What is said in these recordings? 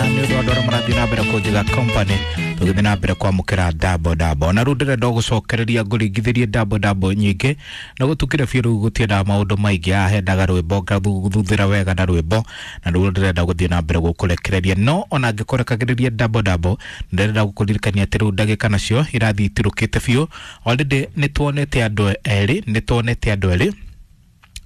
Nĩ ũndũ wa andũ arĩa marathiĩ na mbere kũnjiga company, tũgĩthiĩ na mbere kwamũkĩra double double. Na rĩu ndĩrenda gũcokereria ngũringithĩrie double double nyingĩ na gũtukire biũ. Rĩu gũtiendaga maũndũ maingĩ, haha hendaga rwĩmbo ngathuthĩra wega na rwĩmbo, na rĩu ndĩrenda gũthiĩ na mbere gũkũrekereria. No ona ngĩkũrekagĩrĩria double double, ndĩrenda gũkũririkania atĩ rĩu ndagĩka nacio irathiĩ itirũkĩte biũ. Already nĩ tuonete andũ erĩ, nĩ tuonete andũ erĩ,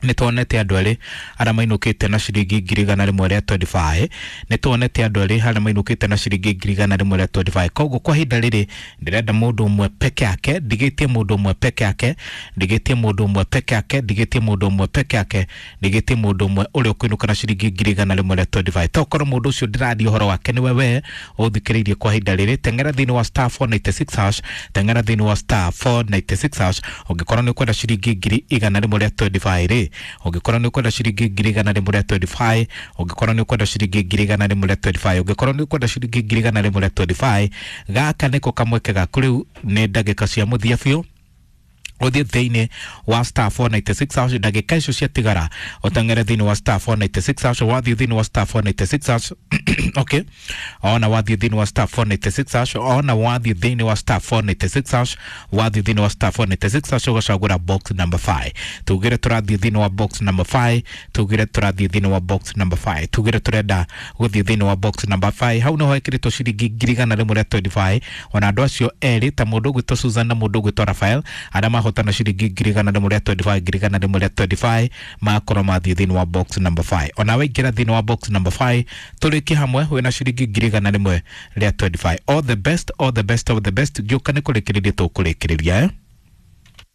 nĩ tuonete andũ erĩ arĩa mainũkĩte na ciringi 125,000. Nĩ tuonete andũ erĩ arĩa mainũkĩte na ciringi 125,000. Koguo kwa ihinda rĩrĩ ndĩrenda mũndũ ũmwe peke yake, ndigĩtie mũndũ ũmwe peke yake, ndigĩtie mũndũ ũmwe peke yake, ndigĩtie mũndũ ũmwe peke yake, ndigĩtie mũndũ ũmwe ũrĩa ũkũinũka na ciringi 125,000. Tokorwo mũndũ ũcio ndĩraria ũhoro wake nĩwe we ũthikĩrĩirie kwa ihinda rĩrĩ, teng'era thĩinĩ wa *496#, teng'era thĩinĩ wa *496#. Ũngĩkorwo nĩ ũkwenda ciringi 125,000 rĩ, ũngĩkorwo nĩ ũkwenda ciringi 125,000, ũngĩkorwo nĩ ũkwenda ciringi 125,000, ũngĩkorwo nĩ ũkwenda ciringi 125,000, gaka nĩko kamweke gaku. Rĩu nĩ ndagĩka cia mũthia biũ, ũthiĩ thĩinĩ wa *496#. Ndagĩka icio ciatigara ũteng'ere thĩinĩ wa *496#. Wathiĩ thĩinĩ wa *496#, okay, ona wathiĩ thĩinĩ wa *496#, ona wathiĩ thĩinĩ wa *496#, wathiĩ thĩinĩ wa *496# ũgacagũra box number 5. Tugire tũrathiĩ thĩinĩ wa box number 5, tugire tũrathiĩ thĩinĩ wa box number 5, tugire tũrenda gũthiĩ thĩinĩ wa box number 5. Hau nĩho hekĩrĩtwo ciringi 125,000. Ona andũ acio erĩ, ta mũndũ ũgwĩtwo Susan na mũndũ ũgwĩtwo Rafael, arĩa mahotana ciringi 125,000, 125,000, makorwo mathiĩ thĩinĩ wa box number 5. Ona waingĩra thĩinĩ wa box number 5, tũrĩkie hamwe wĩna ciringi 125,000. All the best, all the best of the best. Ngĩũka nĩ kũrĩkĩrĩria tũkũrĩkĩrĩria, eh?